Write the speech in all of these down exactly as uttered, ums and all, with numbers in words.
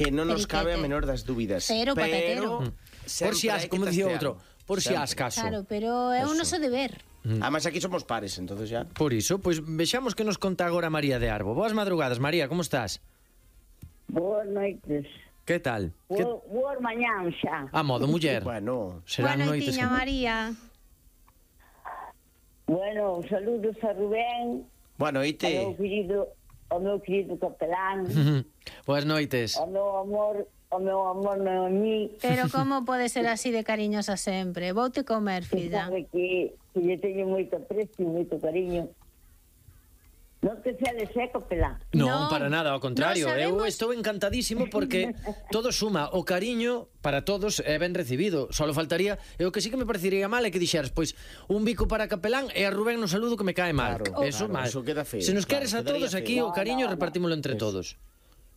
que non nos cabe a Periquete. menor das dúbidas. Cero patatero. Por si as, como dicía outro, por si as caso. Claro, pero é un noso deber. Además aquí somos pares, entonces ya. Por iso, pois vexamos que nos conta agora María de Arbo. Boas madrugadas, María, como estás? Boas noites. Que tal? Que... Bo, boas mañán xa. A modo muller. Bueno, serán Boa noites. noitiña, María. Bueno, saludos a Rubén, bueno, ao meu oíte. querido, ao meu querido capelán, Boas noites. ao meu amor, ao meu amor Noemí, Pero como pode ser así de cariñosa sempre? Voute comer, que filla. sabe que, que lle teño moito aprecio, moito cariño. Non te celes, eh, capelán? Non, Non, para nada, ao contrario. non Eu sabemos- estou encantadísimo porque todo suma. O cariño para todos é ben recibido. Solo faltaría, e o que sí que me parecería mal é que dixeras, pois, un bico para capelán e a Rubén no saludo que me cae mal. Claro, eso claro, mal. eso queda feo, Se nos claro, queres a quedaría todos feo. aquí, o No, cariño no, no. repartímolo entre todos.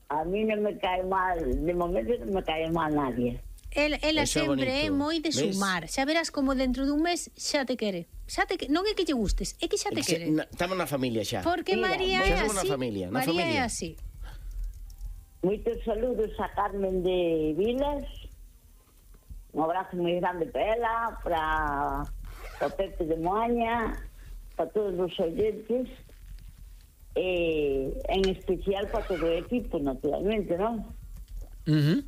A mí non me cae mal, de momento non me cae mal nadie. El, ela Eso é sempre é bonito. moi de Ves? sumar. Xa verás como dentro dun mes xa te quere. Xa te que... Non é que lle gustes, é que xa te quere. Estamos na familia xa. Porque Mira, María xa é somos na así. familia, na María familia. é así. Moitos saludos a Carmen de Vilas, un abrazo moi grande para ela, para o Pepe de Moaña, para todos os oyentes, e en especial para todo o equipo, naturalmente, non? Uh -huh.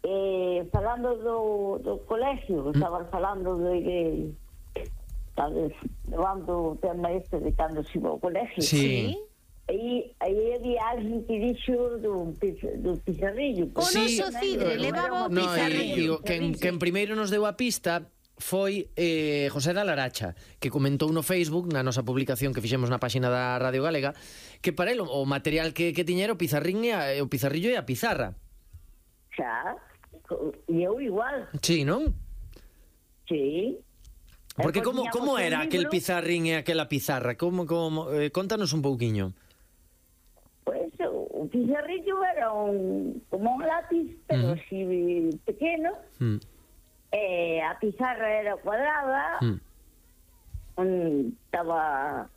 Eh, falando do, do colegio, estaba falando de, de tal vez, levando o tema este de cando se iba ao colegio. Sí. Aí, aí había alguén que dixo do, piz- do pizarrillo. O Sí, noso Cidre eh, levaba o No, e, pizarrillo. digo, quen, quen primeiro nos deu a pista foi eh, José da Laracha, que comentou no Facebook, na nosa publicación que fixemos na páxina da Radio Galega, que para el o, o material que, que tiña era o pizarrín e a, o pizarrillo e a pizarra. Xa, e eu igual, Sí, non? sí. Porque E como, poñíamos como un era libro, aquel pizarrín e aquela pizarra? Como, como, eh, contanos un pouquiño. Pois o pizarrillo era un, como un lápiz, pero Ujú. así pequeno, Mm. e a pizarra era cuadrada, Mm. un, estaba...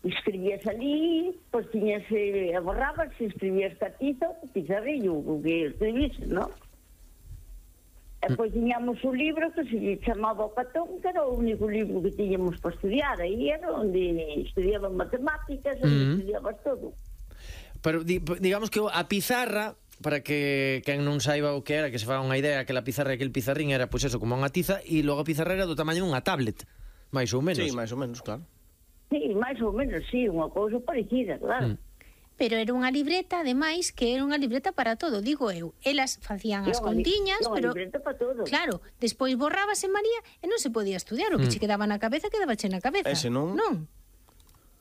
escribías ali, pois tiñas e borrabas e escribías catizo, pizarrillo, o que escribís, non? E pois tiñamos un libro que se chamaba O Catón, que era o único libro que tiñamos para estudiar, aí era onde estudiaban matemáticas, onde Mm. estudiabas todo. Pero di, digamos que a pizarra, para que quen non saiba o que era, que se faga unha idea, que a pizarra e aquel pizarrín era, pois eso, como unha tiza, e logo a pizarra era do tamaño dunha tablet, máis ou menos. Sí, máis ou menos, claro. Sí, máis ou menos, sí, unha cousa parecida, claro. Mm. Pero era unha libreta, ademais, que era unha libreta para todo, digo eu. Elas facían as Era unha li- contiñas, era unha pero... libreta para todo. Claro, despois borrábase María e non se podía estudiar. O que Mm. che quedaba na cabeza, quedaba che na cabeza. Ese non. Non.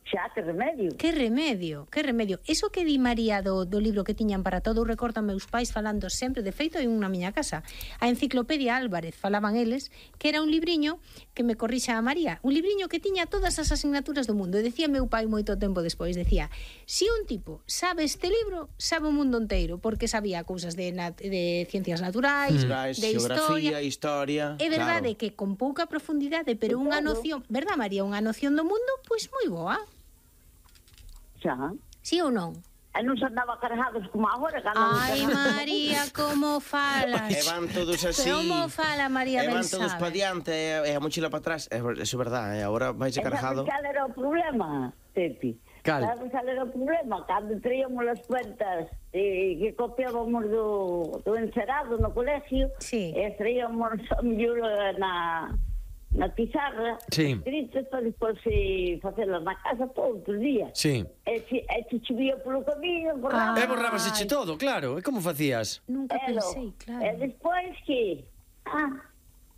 Xa, que remedio. Que remedio, que remedio. Eso que di María do, do libro que tiñan para todo, eu recordo a meus pais falando sempre, de feito, hai un na miña casa. A Enciclopedia Álvarez, falaban eles, que era un libriño, que me corrixa a María, un libriño que tiña todas as asignaturas do mundo. E decía meu pai moito tempo despois, decía, si un tipo sabe este libro, sabe o mundo inteiro, porque sabía cousas de, nat de ciencias naturais, Naturais, de geografía, historia. historia. É verdade claro. que con pouca profundidade, pero De unha todo. noción, verdad María, unha noción do mundo, pois moi boa. Xa. Sí ou non? E non se andaba cargados como agora, que andan Ai, cargados. María, como falas? E van todos así. Como fala María E van Ben todos sabe? pa diante e, e a mochila para atrás. É, eso é verdade, agora vais E cargado. sabes cal era o problema, Pepi? Cal? Sabes cal era o problema? Cando traíamos as cuentas eh, que copiábamos do, do encerado no colegio, Sí. e traíamos a mellor na, na pizarra, Sí. escritas para despois eh, facelas na casa todo outro día. Sí. E se, e se chovía polo camiño, borraba. E borrábase che todo, claro. E como facías? Nunca Elo. pensei, E claro. despois que... Ah,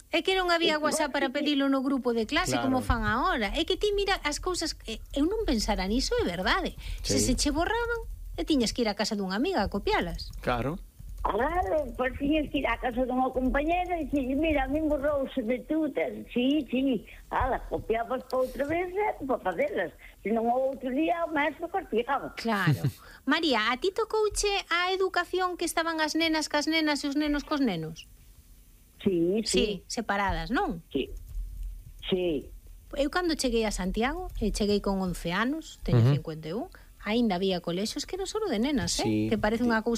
É que non había WhatsApp para pedilo no grupo de clase Claro. como fan agora. É que ti mira as cousas... eh, Eu non pensara niso, é verdade. Se se Sí. che borraban, e tiñas que ir a casa dunha amiga a copialas. Claro. Claro, pois tiñas que ir á casa dunha compañera e dixille, mira, a min borrouse de tú, tes... sí, sí, ala, copiabas para outra vez e para facelas, senón o outro día o maestro castigaba. Claro. María, a ti tocouche a educación que estaban as nenas cas nenas e os nenos cos nenos? Sí, Sí, sí, separadas, non? sí, sí. Eu cando cheguei a Santiago, e cheguei con once anos, teño Ujú. cincuenta e un, aínda había colexios que non só de nenas, eh? Sí. Que parece unha cousa